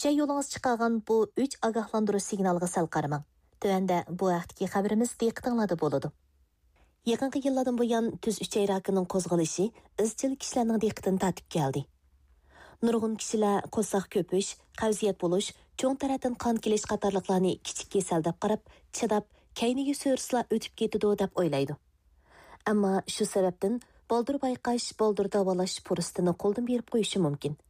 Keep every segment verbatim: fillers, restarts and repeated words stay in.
ئۈچەي يولىڭىز چىقارغان بۇ ئۈچ ئاگاھلاندۇرۇش سىگنالىغا سەل قارىماڭ. تۆۋەندە بۇ ھەقتىكى خەۋىرىمىز دىققىتىڭلاردا بولىدۇ. يېقىنقى يىللاردىن بۇيان تۈز ئۈچەي راكىنىڭ قوزغىلىشى ئىزچىل كىشىلەرنىڭ دىققىتىنى تارتىپ كەلدى. نۇرغۇن كىشىلەر قورساق كۆپۈش، قەۋزىيەت بولۇش، چوڭ تەرەتتىن قان كېلىش قاتارلىقلارنى كىچىك كېسەل دەپ قاراپ، چىداپ، كەينىگە سۈرسىلا ئۆتۈپ كېتىدۇ دەپ ئويلايدۇ. ئەمما شۇ سەۋەبتىن بالدۇر بايقاش، بالدۇر داۋالاش پۇرسىتىنى قولدىن بېرىپ قويۇشى مۇمكىن.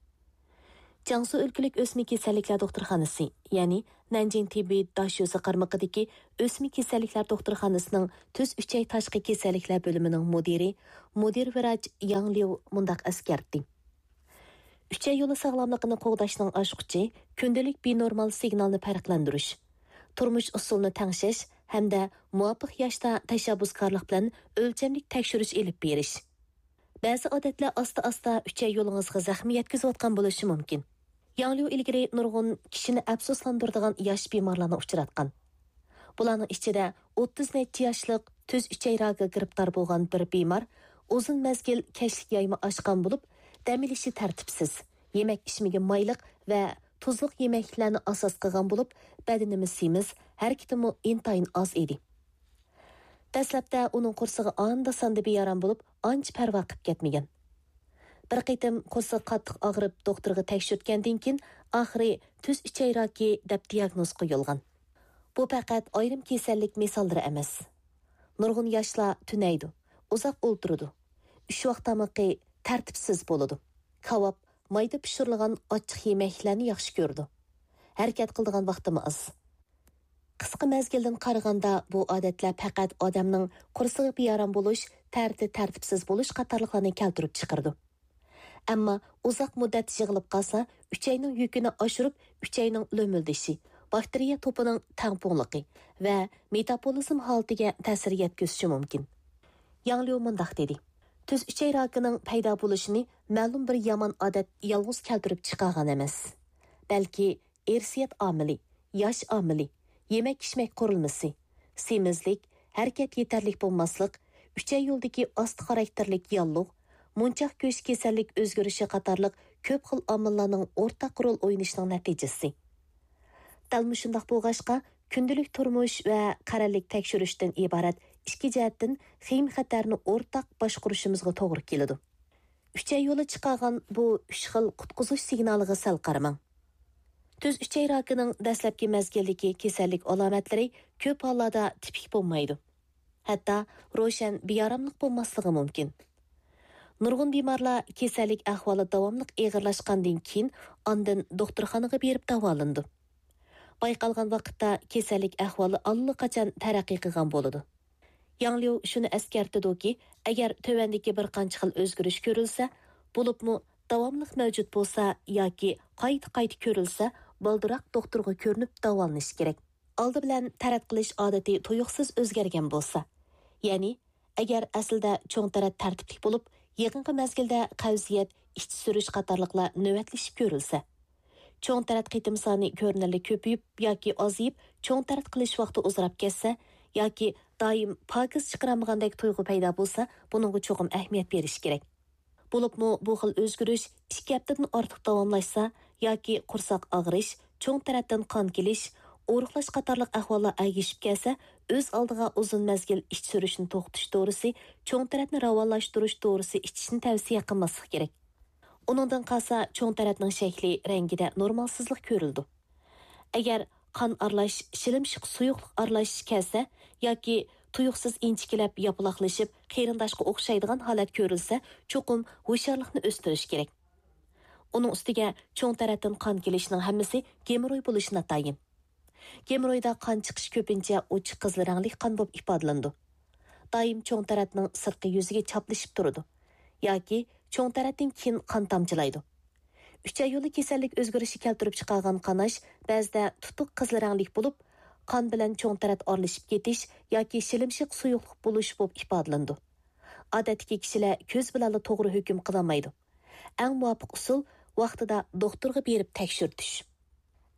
جياڭسۇ ئۆلكىلىك ئۆسمە كېسەللىكلەر دوختۇرخانىسى، يەنى نەنجىڭ تېببىي داشۆسى قارمىقىدىكى ئۆسمە كېسەللىكلەر دوختۇرخانىسىنىڭ تۈز ئۈچەي تاشقى كېسەللىكلەر بۆلۈمىنىڭ مۇدىرى، مۇدىر ۋىراچ ياڭ ليۇ مۇنداق ئەسكەرتتى: ئۈچەي يولى ساغلاملىقىنى قوغداشنىڭ ئاچقۇچى كۈندىلىك بىنورمال سىگنالنى پەرقلەندۈرۈش، تۇرمۇش ئۇسۇلىنى تەڭشەش ھەمدە مۇۋاپىق ياشتا تەشەببۇسكارلىق بىلەن ئۆلچەملىك تەكشۈرۈش ئېلىپ بېرىش. بەزى ئادەتلەر ئاستا-ئاستا ئۈچەي يولىڭىزغا زەخمە يەتكۈزۈۋاتقان بولۇشى مۇمكىن. ياڭ ليۇ ئىلگىرى نۇرغۇن كىشىنى ئەپسۇسلاندۇرىدىغان ياش بىمارلارنى ئۇچراتقان. بۇلارنىڭ ئىچىدە ئوتتۇز نەچچە ياشلىق تۈز ئۈچەي راكىغا گىرىپتار بولغان بىر بىمار ئۇزۇن مەزگىل كەچلىك يايما ئاچقان بولۇپ، دەم ئېلىشى تەرتىپسىز، يېمەك-ئىچمىكى مايلىق ۋە تۇزلۇق يېمەكلىكلەرنى ئاساس قىلغان بولۇپ، بەدىنىمۇ سېمىز، ھەرىكىتىمۇ ئىنتايىن ئاز ئىدى. دەسلەپتە ئۇنىڭ قورسىقى ئاندا-ساندا بىئارام بولۇپ، ئانچە پەرۋا قىلىپ كەتمىگەن. بىر قېتىم قورسىقى قاتتىق ئاغرىپ، دوختۇرغا تەكشۈرتكەندىن كېيىن، ئاخىرى تۈز ئۈچەي راكى دەپ دىياگنوز قويۇلغان. بۇ پەقەت ئايرىم كېسەللىك مىساللىرى ئەمەس. نۇرغۇن ياشلار تۈنەيدۇ، ئۇزاق ئولتۇرىدۇ، ئۈچ ۋاق تامىقى تەرتىپسىز بولىدۇ، كاۋاپ، مايدا پىشۇرۇلغان ئاچچىق يېمەكلەرنى ياخشى كۆرىدۇ، ھەرىكەت قىلىدىغان ۋاقتىمۇ ئاز. قىسقا مەزگىلدىن قارىغاندا، بۇ ئادەتلەر پەقەت ئادەمنىڭ قورسىقى بىئارام بولۇش، تەرىتى تەرتىپسىز بولۇش قاتارلىقلارنى كەلتۈرۈپ چىقىرىدۇ. ئەمما ئۇزاق مۇددەت يىغىلىپ قالسا، ئۈچەينىڭ يۈكىنى ئاشۇرۇپ، ئۈچەينىڭ لۆمۈلدىشى، باكتېرىيە توپىنىڭ تەڭپۇڭلۇقى ۋە مېتابولىزم ھالىتىگە تەسىر يەتكۈزۈشى مۇمكىن. ياڭ ليۇ مۇنداق دېدى: تۈز ئۈچەي راكىنىڭ پەيدا بولۇشىنى مەلۇم بىر يامان ئادەت يالغۇز كەلتۈرۈپ چىقارغان ئەمەس، بەلكى ئىرسىيەت ئامىلى، ياش ئامىلى، يېمەك-ئىچمەك قۇرۇلمىسى، سېمىزلىك، ھەرىكەت يېتەرلىك بولماسلىق، ئۈچەي يولىدىكى ئاستا خاراكتېرلىك ياللۇغ، مۇنچاق گۆش كېسەللىك ئۆزگىرىشى قاتارلىق كۆپ خىل ئامىللارنىڭ ئورتاق رول ئوينىشىنىڭ نەتىجىسى. دەل مۇشۇنداق بولغاچقا، كۈندىلىك تۇرمۇش ۋە قەرەللىك تەكشۈرۈشتىن ئىبارەت ئىككى جەھەتتىن خېمىخەتەرنى ئورتاق باشقۇرۇشىمىزغا توغرا كېلىدۇ. ئۈچەي يولى چىقارغان بۇ ئۈچ خىل قۇتقۇزۇش سىگنالىغا سەل قارىماڭ. تۈز ئۈچەي راكىنىڭ دەسلەپكى مەزگىلدىكى كېسەللىك ئالامەتلىرى كۆپ ھاللاردا تىپىك بولمايدۇ. ھەتتا روشەن بىئاراملىق بولماسلىقى مۇمكىن. نۇرغۇن بىمارلار كېسەللىك ئەھۋالى داۋاملىق ئېغىرلاشقاندىن كېيىن ئاندىن دوختۇرخانىغا بېرىپ داۋالىنىدۇ. بايقالغان ۋاقىتتا كېسەللىك ئەھۋالى ئاللىقاچان تەرەققىي قىلغان بولىدۇ. ياڭ ليۇ شۇنى ئەسكەرتىدۇكى، ئەگەر تۆۋەندىكى بىر قانچە خىل ئۆزگىرىش كۆرۈلسە، بولۇپمۇ داۋاملىق مەۋجۇت بولسا ياكى قايتا-قايتا كۆرۈلسە، بالدۇرراق دوختۇرغا كۆرۈنۈپ داۋالىنىش كېرەك. ئالدى بىلەن تەرەت قىلىش ئادىتى تۇيۇقسىز ئۆزگەرگەن بولسا، يەنى ئەگەر ئەسلىدە چوڭ تەرەت تەرتىپلىك بولۇپ، يېقىنقى مەزگىلدە قەۋزىيەت، ئىچ سۈرۈش قاتارلىقلار نۆۋەتلىشىپ كۆرۈلسە، چوڭ تەرەت قېتىم سانى كۆرۈنەرلىك كۆپىيىپ ياكى ئازىيىپ، چوڭ تەرەت قىلىش ۋاقتى ئۇزىراپ كەتسە ياكى دائىم پاكىز چىقىرالمىغاندەك تۇيغۇ پەيدا بولسا، بۇنىڭغا چوقۇم ئەھمىيەت بېرىش كېرەك. بولۇپمۇ بۇ خىل ئۆزگىرىش ئىككى ھەپتىدىن ئارتۇق داۋاملاشسا ياكى قورساق ئاغرىش، چوڭ تەرەتتىن قان كېلىش، ئورۇقلاش قاتارلىق ئەھۋاللار ئەگىشىپ كەلسە، ئۆز ئالدىغا ئۇزۇن مەزگىل ئىچ سۈرۈشنى توختىتىش دورىسى، چوڭ تەرەتنى راۋانلاشتۇرۇش دورىسى ئىچىشنى تەۋسىيە قىلماسلىق كېرەك. ئۇنىڭدىن قالسا، چوڭ تەرەتنىڭ شەكلى، رەڭگىدە نورمالسىزلىق كۆرۈلىدۇ. ئەگەر قان ئارىلاش شىلىمشىق سۇيۇقلۇق ئارىلاش كەلسە ياكى تۇيۇقسىز ئىنچىكىلەپ ياپىلاقلىشىپ قېرىنداشقا ئوخشايدىغان ھالەت كۆرۈلسە، چوقۇم ھوشيارلىقنى ئۆستۈرۈش كېرەك. ئۇنىڭ ئۈستىگە چوڭ تەرەتتىن قان كېلىشنىڭ ھەممىسى گېموروي بولۇشى ناتايىن. گېمورويدا قان چىقىش كۆپىنچە ئوچۇق قىزىل رەڭلىك قان بولۇپ ئىپادىلىنىدۇ. دائىم چوڭ تەرەتنىڭ سىرتقى يۈزىگە چاپلىشىپ تۇرىدۇ ياكى چوڭ تەرەتتىن كېيىن قان تامچىلايدۇ. ئۈچەي يولى كېسەللىك ئۆزگىرىشى كەلتۈرۈپ چىقارغان قاناش بەزىدە تۇتۇق قىزىل رەڭلىك بولۇپ، قان بىلەن چوڭ تەرەت ئارىلىشىپ كېتىش ياكى شىلىمشىق سۇيۇقلۇق بولۇش بولۇپ ئىپادىلىنىدۇ. ئادەتتىكى كىشىلەر كۆز بىلەنلا توغرا ھۆكۈم قىلالمايدۇ. ئەڭ مۇۋاپىق ئۇسۇل ۋاقتىدا دوختۇرغا بېرىپ تەكشۈرتۈش.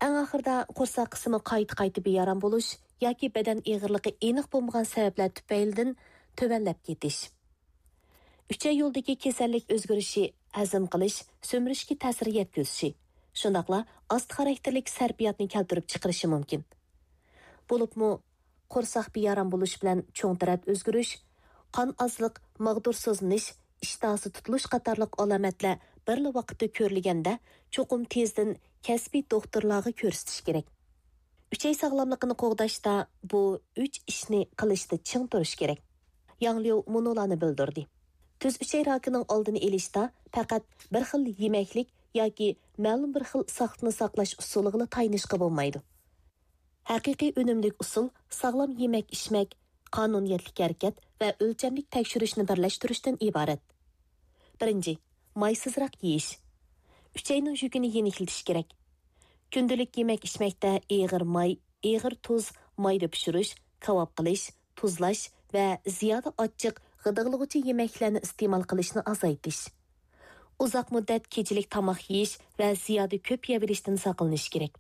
ئەڭ ئاخىرىدا قورساق قىسمى قايتا-قايتا بىئارام بولۇش ياكى بەدەن ئېغىرلىقى ئېنىق بولمىغان سەۋەبلەر تۈپەيلىدىن تۆۋەنلەپ كېتىش. ئۈچەي يولىدىكى كېسەللىك ئۆزگىرىشى، ھەزىم قىلىش، سۈمۈرۈشكە تەسىر يەتكۈزۈشى، شۇنداقلا ئاستا خاراكتېرلىك سەرپىياتنى كەلتۈرۈپ چىقىرىشى مۇمكىن. بولۇپمۇ، قورساق بىئارام بولۇش بىلەن چوڭ تەرەت ئۆزگىرىش، قان ئازلىق، ماغدۇرسىزلىنىش، ئىشتىھاسى تۇتۇلۇش قاتارلىق ئالامەتلەر بىرلا ۋاقىتتا كۆرۈلگەندە، چوقۇم تېزدىن كەسپىي دوختۇرلارغا كۆرسىتىش كېرەك. ئۈچەي ساغلاملىقىنى قوغداشتا بۇ ئۈچ ئىشنى قىلىشتا چىڭ تۇرۇش كېرەك. ياڭ ليۇ مۇنۇلارنى بىلدۈردى: تۈز ئۈچەي راكىنىڭ ئالدىنى ئېلىشتا پەقەت بىر خىل يېمەكلىك ياكى مەلۇم بىر خىل ساقلىقنى ساقلاش ئۇسۇلىغىلا تايىنىشقا بولمايدۇ. ھەقىقىي ئۈنۈملۈك ئۇسۇل ساغلام يېمەك-ئىچمەك، قانۇنىيەتلىك ھەرىكەت ۋە ئۆلچەملىك تەكشۈرۈشنى بىرلەشتۈرۈشتىن ئىبارەت. بىرىنچى، مايسىزراق يېيىش. ئۈچەينىڭ يۈكىنى يېنىكلىتىش كېرەك. كۈندىلىك يېمەك-ئىچمەكتە ئېغىر ماي، ئېغىر تۇز، مايدا پىشۇرۇش، كاۋاپ قىلىش، تۇزلاش ۋە زىيادە ئاچچىق، غىدىقلىغۇچى يېمەكلىكلەرنى ئىستېمال قىلىشنى ئازايتىش. ئۇزاق مۇددەت كېچىلىك تاماق يېيىش ۋە زىيادە كۆپ يەۋېلىشتىن ساقلىنىش كېرەك.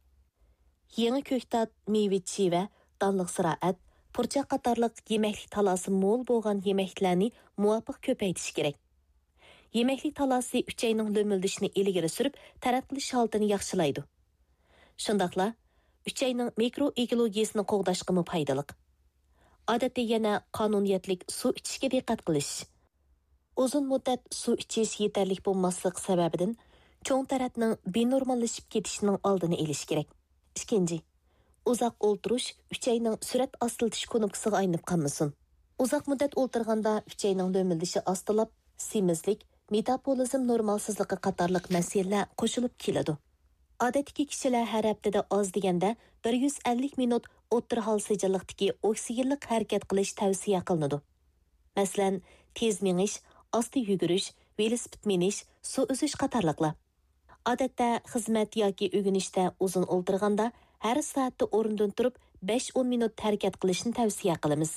يېڭى كۆكتات، مېۋە-چىۋە، دانلىق زىرائەت، پۇرچاق قاتارلىق يېمەكلىك تالاسى مول بولغان يېمەكلىكلەرنى مۇۋاپىق كۆپەيتىش كېرەك. يېمەكلىك تالاسى ئۈچەينىڭ لۆمۈلدىشىنى ئىلگىرى سۈرۈپ، تەرەت قىلىش ھالىتىنى ياخشىلايدۇ. شۇنداقلا ئۈچەينىڭ مىكرو ئېكولوگىيىسىنى قوغداشقىمۇ پايدىلىق. ئادەتتە يەنە قانۇنىيەتلىك سۇ ئىچىشكە دىققەت قىلىش. ئۇزۇن مۇددەت سۇ ئىچىش يېتەرلىك بولماسلىق سەۋەبىدىن چوڭ تەرەتنىڭ بىنورماللىشىپ كېتىشىنىڭ ئالدىنى ئېلىش كېرەك. ئىككىنچى، ئۇزاق ئولتۇرۇش ئۈچەينىڭ سۈرئەت ئاستىلىتىش كۇنۇپكىسىغا ئايلىنىپ قالمىسۇن. ئۇزاق مۇددەت ئولتۇرغاندا ئۈچەينىڭ لۆمۈلدىشى ئاستىلاپ، سېمىزلىك، مېتابولىزم نورمالسىزلىقى قاتارلىق مەسىلىلەر قوشۇلۇپ كېلىدۇ. ئادەتتىكى كىشىلەر ھەر ھەپتىدە ئاز دېگەندە بىر يۈز ئەللىك مىنۇت ئوتتۇرا ھال سىجىللىقتىكى ئوكسىگېنلىق ھەرىكەت قىلىش تەۋسىيە قىلىنىدۇ. مەسىلەن، تېز مېڭىش، ئاستا يۈگۈرۈش، ۋېلىسىپىت مىنىش، سۇ ئۈزۈش قاتارلىقلار. ئادەتتە خىزمەت ياكى ئۆگىنىشتە ئۇزۇن ئولتۇرغاندا، ھەر سائەتتە ئورنىدىن تۇرۇپ بەش ئون مىنۇت ھەرىكەت قىلىشنى تەۋسىيە قىلىمىز.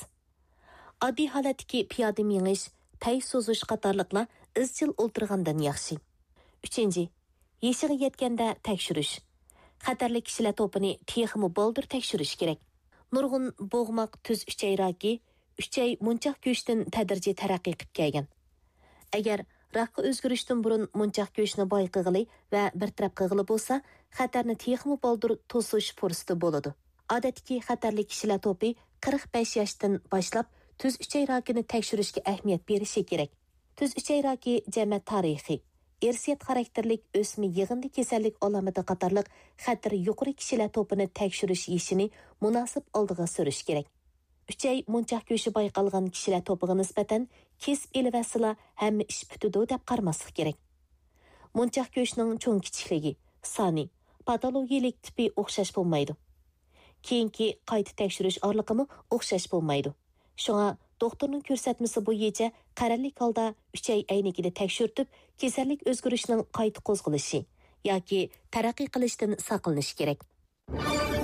ئاددىي ھالەتتىكى پىيادە مېڭىش، پەي سوزۇش قاتارلىقلار ئىزچىل ئولتۇرغاندىن ياخشى. ئۈچىنچى، يېشىغا يەتكەندە تەكشۈرۈش. خەتەرلىك كىشىلەر توپىنى تېخىمۇ بالدۇر تەكشۈرۈش كېرەك. نۇرغۇن بوغماق تۈز ئۈچەي راكى ئۈچەي مونچاق گۆشتىن تەدرىجىي تەرەققىي قىلىپ كەلگەن. ئەگەر راكقا ئۆزگىرىشتىن بۇرۇن مونچاق گۆشنى بايقىغىلى ۋە بىر تەرەپ قىلغىلى بولسا، خەتەرنى تېخىمۇ بالدۇر توسۇش پۇرسىتى بولىدۇ. ئادەتتىكى خەتەرلىك كىشىلەر توپى قىرىق بەش ياشتىن باشلاپ تۈز ئۈچەي راكىنى تەكشۈرۈشكە ئەھمىيەت بېرىشى كېرەك. تۈز ئۈچەي راكى جەمەت تارىخى، ئىرسىيەت خاراكتېرلىك ئۆسمە يىغىندى كېسەللىك ئالامىتى قاتارلىق خەتىرى يۇقىرى كىشىلەر توپىنى تەكشۈرۈش يېشىنى مۇناسىپ ئالدىغا سۈرۈش كېرەك. ئۈچەي مونچاق گۆشى بايقالغان كىشىلەر توپىغا نىسبەتەن كېسىپ ئېلىۋەتسىلا ھەممە ئىش پۈتىدۇ دەپ قارىماسلىق كېرەك. مونچاق گۆشنىڭ چوڭ كىچىكلىكى، سانى، پاتولوگىيەلىك تىپى ئوخشاش بولمايدۇ. كېيىنكى قايتا تەكشۈرۈش ئارىلىقىمۇ ئوخشاش بولمايدۇ. شۇڭا دوختۇرنىڭ كۆرسەتمىسى بويىچە قەرەللىك ھالدا ئۈچەي ئەينىكىدە تەكشۈرتۈپ، كېسەللىك ئۆزگىرىشىنىڭ قايتا قوزغىلىشى ياكى تەرەققىي قىلىشىدىن ساقلىنىش كېرەك.